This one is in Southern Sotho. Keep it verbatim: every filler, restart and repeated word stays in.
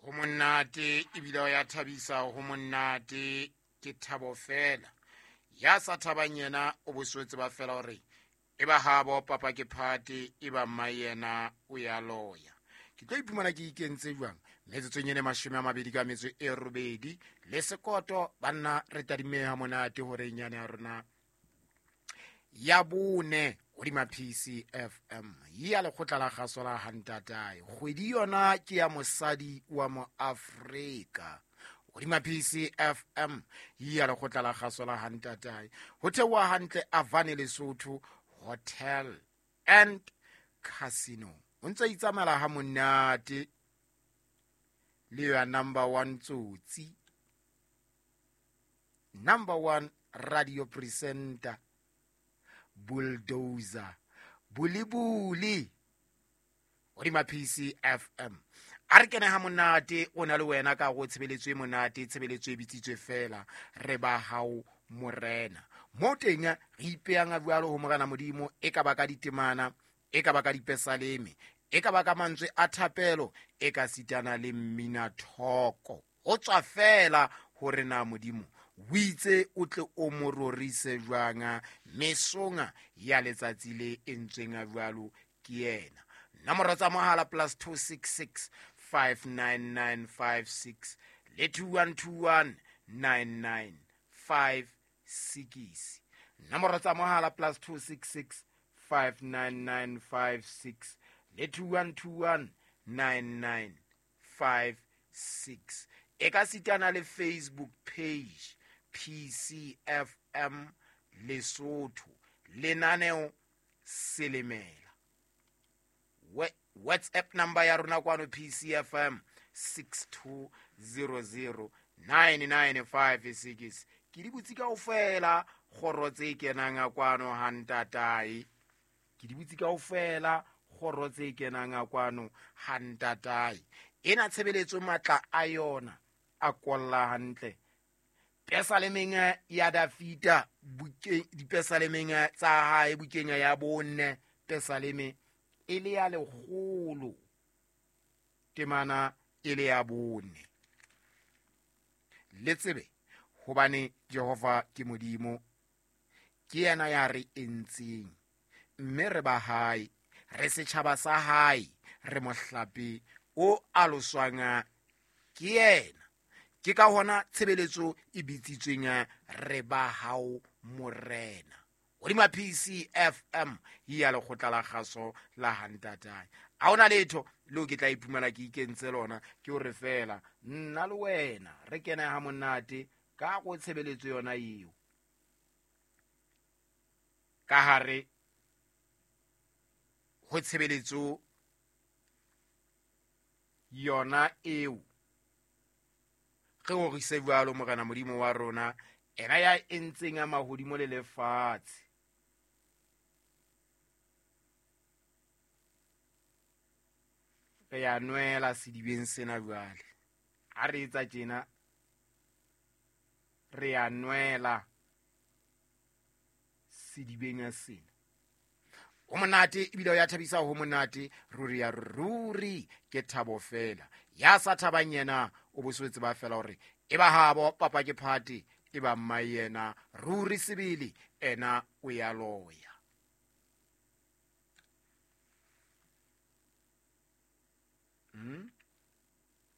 Ho monate ebile o ya thabisa, ho monate ke thabo fela. Ya sa thabang yena o boswetse ba fela hore e ba habo papa ke phate, e ba mma yena o ya loya. Ke tlo iphumana ke ikentse jwang? Metsotsong ene mashome a mabedi ka metso e robedi le sekoto, banna re tadimeha monate horeng yane ya rona ya bone hodima P C F M ya lekgotla la kgaso la Hantatae. Kgwedi yona ke ya mosadi wa Moafrika hodima P C F M ya lekgotla la kgaso la Hantatae. Ho theoha hantle Avane Lesotho Hotel and Casino. O ntse itsamaela ha monate le ya number one tsotsi, number one radio presenter, bulldozer, bulibuli hodima P C F M. A re kene ha monate o na le wena ka go tshebeletso e monate, tshebeletso e bitsitswe fela re ba hao morena. Mo teng re ipeang jwalo ho morena Modimo, e ka ba ka ditemana, e ka ba ka dipesaleme, e ka ba ka mantswe a thapelo, e ka sitana le mmina thoko. Ho tswa fela hore na Modimo o itse o tle o mo rorise jwang mesonga ya letsatsi le entsweng jwalo ke yena. Nomoro tsa mohala plus two six six five nine nine five six le two one two one nine nine five six. Nomoro tsa mohala plus two six six five nine nine five six le two one two one nine nine five six. E ka sitana le Facebook page P C F M Lesotho lenaneo Selemela. WhatsApp number ya rona kwano P C F M six two zero zero nine nine five six. Ke di butse kaofela kgoro tse kenang kwano ha ntatae. Ke di butse kaofela kgoro tse kenang kwano ha ntatae. Ena tshebeletso matla a yona a kolla hantle. Pesalemeng ya Dafita bukeng, dipesalemeng tsa hae bukeng ya bone, pesaleme e le ya lekgolo, temana e le ya bone. Le tsebe hobane Jehova ke Modimo, ke yena ya re entseng, mme re ba hae, re setjhaba sa hae, re mohlape o aloswang ke yena. Ke ka hona tshebeletso e bitsitsweng re ba hao morena hodima P C F M ya lekgotla la kgaso la Hantatae. Ha hona letho leo ke tla iphumana ke ikentse lona, ke hore fela nna le wena re kene ha monate ka go tshebeletso yona eo ka hare ho tshebeletso yona eo. Re rorise jwalo morena Modimo wa rona, ena ya entseng a mahodimo le lefatshe. Re ya nwela sedibeng sena jwale. Ha re etsa tjena, re ya nwela sedibeng sena. Ho monate ebile o ya thabisa, ho monate ruri ya ruri ke thabo fela. Ya sa thabang yena o boswetse ba fela hore e ba habo papa ke phate, e ba mma yena ruri sebele ena o ya loya.